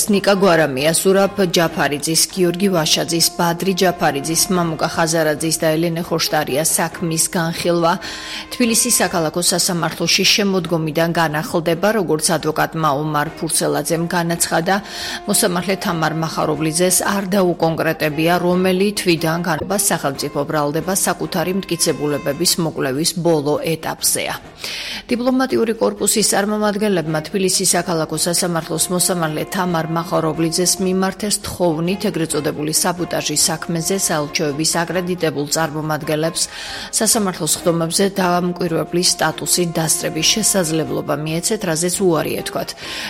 ნიკა გვარამია, ზურაბ ჯაფარიძის, გიორგი ვაშაძის, ბადრი ჯაფარიძის, მამუკა ხაზარაძის და ელენე ხოშტარიას საქმის განხილვა თბილისის საქალაქო სასამართლოში შემოდგომიდან განახლდება, როგორც ადვოკატმა ომარ ფურცელაძემ განაცხადა, მოსამართლე თამარ მახარობლიძეს არ დაუკონკრეტებია, რომელი თვიდან განხილვა სახელმწიფო ბრალდება საკუთარი მტკიცებულებების მოკვლევის ბოლო ეტაპზეა. დიპლომატიური კორპუსის წარმომადგენლებმა თბილისის საქალაქო სასამართლოს მოსამართლე თამარ მახარობლიძეს მიმართეს თხოვნით ეგრეთ წოდებული საბოტაჟის საქმეზე საელჩოების აკრედიტებულ წარმომადგენლებს სასამართლოს ხდომებზე დამკვირვებლის სტატუსით დასწრების შესაძლებლობა მიეცეთ, რაზეც უარი ეთქვათ.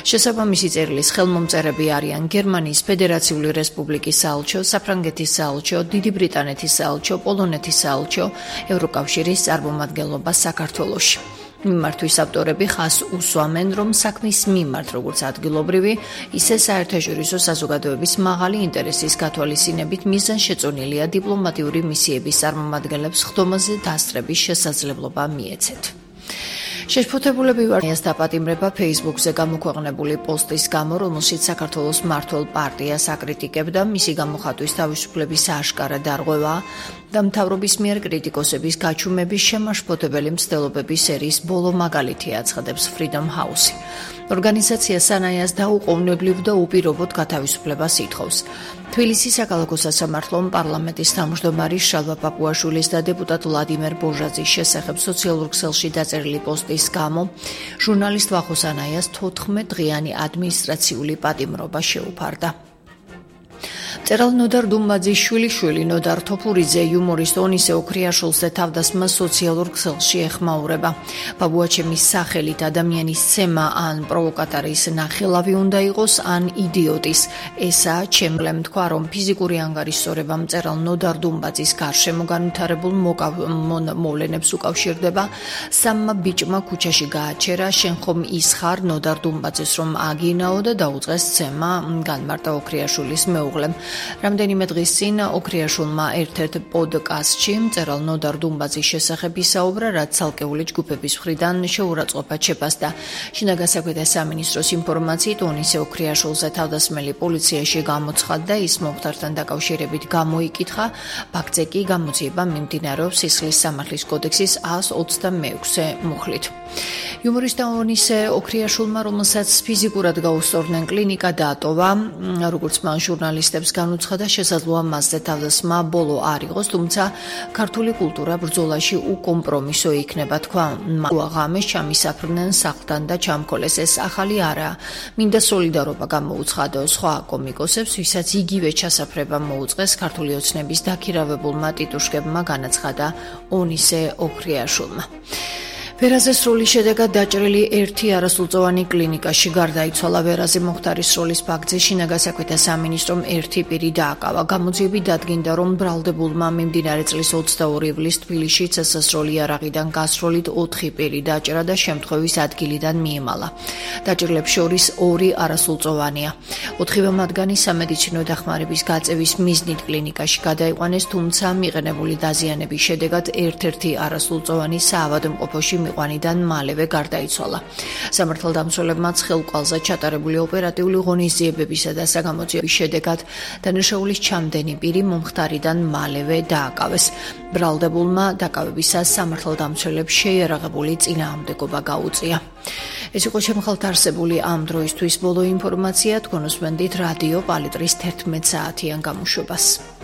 შესაბამისი წერილის ხელმომწერები არიან გერმანიის ფედერაციული რესპუბლიკის საელჩო, საფრანგეთის საელჩო, დიდი ბრიტანეთის საელჩო, პოლონეთის საელჩო, ევროკავშირის წარმომადგენლობა საქართველოში. მიმართვის ავტორები ხაზს უსვამენ, რომ საქმის მიმართ, როგორც ადგილობრივი, ისე საერთაშორისო საზოგადოების მაღალი ინტერესის გათვალისწინებით მიზანშეწონილია დიპლომატიური მისიების წარმომადგენლებს ხდომაზე დასწრების შესაძლებლობა მიეცეთ. შეშფოთებულები ვარიანს დაპატიმრება Facebook-ზე გამოქვეყნებული პოსტის გამო, რომელშიც საქართველოს მმართველ პარტიას აკრიტიკებდა, მისი გამოხატვის თავისუფლების აშკარა დარღვევა და მთავრობის მიერ კრიტიკოსების გაჩუმების შემაშფოთებელი მცდელობების სერიის ბოლო მაგალითი აცხადებს Freedom House-ი. ორგანიზაცია სანაიას დაუყოვნებლივ და უპირობოდ გათავისუფლებას ითხოვს. თბილისის საქალაქო სასამართლომ პარლამენტის თავმჯდომარე შალვა პაპუაშვილის და დეპუტატ ვლადიმერ ბოჟაძის შესახებ სოციალურ ქსელში დაწერილი პოსტის გამო ჟურნალისტ ვახო სანაიას 14 დღიანი ადმინისტრაციული პატიმრობა შეუფარდა. მწერალ ნოდარ დუმბაძის შვილიშვილი ნოდარ თოფურიძე იუმორისტ ონისე ოქრიაშვილს და თავდასხმა სოციალურ ქსელში ეხმაურება. ბაბუაჩემის სახელით ადამიანის ცემა ან პროვოკატორის ნახელავი უნდა იყოს ან იდიოტის. ესაა ჩემლემ თქვა, რომ ფიზიკური ანგარიშსწორება მწერალ ნოდარ დუმბაძის გარშემო განვითარებულ მოვლენებს უკავშირდება. სამმა ბიჭმა ქუჩაში გააჩერა, შენ ხომ ის ხარ ნოდარ დუმბაძის, რომ აგინაო და დაუწყეს ცემა, განმარტა ოქრიაშვილის მეუღლემ. რამდენიმე დღის წინ ოქრიაშვილმა ერთ-ერთ პოდკასტში მწერალ ნოდარ დუმბაძის შესახებ ისაუბრა, რაც ცალკეული ჯგუფების მხრიდან შეურაცხყოფად შეფასდა. შინაგან საქმეთა სამინისტროს ინფორმაციით ონისე ოქრიაშვილზე თავდასხმელი პოლიციაში გამოცხადდა, ის მომხდართან დაკავშირებით გამოიკითხა, ფაქტზე კი გამოძიება მიმდინარეობს სისხლის სამართლის კოდექსის 126 მუხლით. იუმორისტ ონისე ოქრიაშვილმა, რომელსაც ფიზიკურად გაუსწორდნენ, კლინიკა დაატოვა, როგორც მან ჟურნალისტებს განუცხადა, შესაძლოა მასზე თავდასხმა ბოლო არ იყოს, თუმცა ქართული კულტურა ბრძოლაში უკომპრომისო იქნება, თქვა. ღამეს ჩამისაფრნენ სახლთან და ჩამქოლეს, ეს ახალი არაა. მინდა სოლიდარობა გამოუცხადო სხვა კომიკოსებს, ვისაც იგივე ჩასაფრება მოუწყეს ქართული ოცნების დაქირავებულმა ტიტუშკებმა, განაცხადა ონისე ოქრიაშვილმა. ვერაზე სროლის შედეგად დაჭრილი ერთი არასრულწლოვანი კლინიკაში გარდაიცვალა. ვერაზე მოხდარის სროლის ფაქტზე შინაგან საქმეთა სამინისტრომ ერთი პირი დააკავა. გამოძიებით დადგინდა, რომ ბრალდებულმა მიმდინარე წლის 22 ივლისს თბილისში წესასროლი იარაღიდან გასროლით 4 პირი დაჭრა და შემთხვევის ადგილიდან მიემალა. დაჭრილებს შორის 2 არასრულწლოვანია. 4 მათგანი სამედიცინო დახმარების გაწევის მიზნით კლინიკაში გადაიყვანეს, თუმცა მიღებული დაზიანების შედეგად ერთ-ერთი არასრულწლოვანი საავადმყოფოში ყვანიდან მალევე გარდაიცვალა. სამართალდამცველებმა ცხელყვალზე ჩატარებული ოპერატიული ღონისძიებებისა და საგამოძიების შედეგად დანაშაულის ჩამდენი პირი მომხდარიდან მალევე დააკავეს. ბრალდებულმა დაკავებისას სამართალდამცველებს შეიარაღებული წინააღმდეგობა გაუწია. ეს იყო შემხალთ არსებული ამ დროისთვის ბოლო ინფორმაცია. თქვენ უსმენთ რადიო პალიტრის 11 საათიან გამოშვებას.